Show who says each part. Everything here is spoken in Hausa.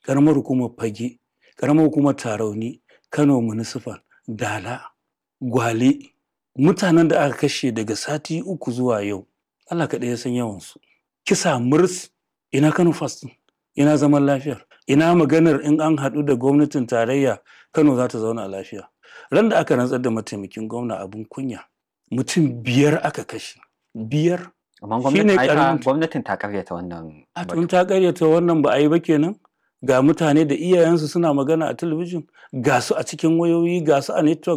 Speaker 1: Ƙaramar hukumar Fage, ƙaramar hukumar Tarauni, Kano Municipal, Dala, Gwale. Mutanen da aka kashe daga sati 3 zuwa yau, Allah kaɗai ya san yawansu. Kisa murs, ina Kano First ɗin? Ina zaman lafiyar? Ina maganar in an haɗu da gwamnatin tarayya Kano za ta zauna lafiya? Ran da aka rantsar da mataimakin gwamna, abin kunya, mutum 5 aka kashe. 5.
Speaker 2: Amma
Speaker 1: Shine
Speaker 2: gwamnati ai ta
Speaker 1: ƙaramin
Speaker 2: gwamnatin ta karyata wannan
Speaker 1: A
Speaker 2: batu.
Speaker 1: tun ta karyata wannan ba a yi ba kenan. Ga mutane da iyayensu suna magana a talabijin, ga su a cikin wayoyi, ga su a network.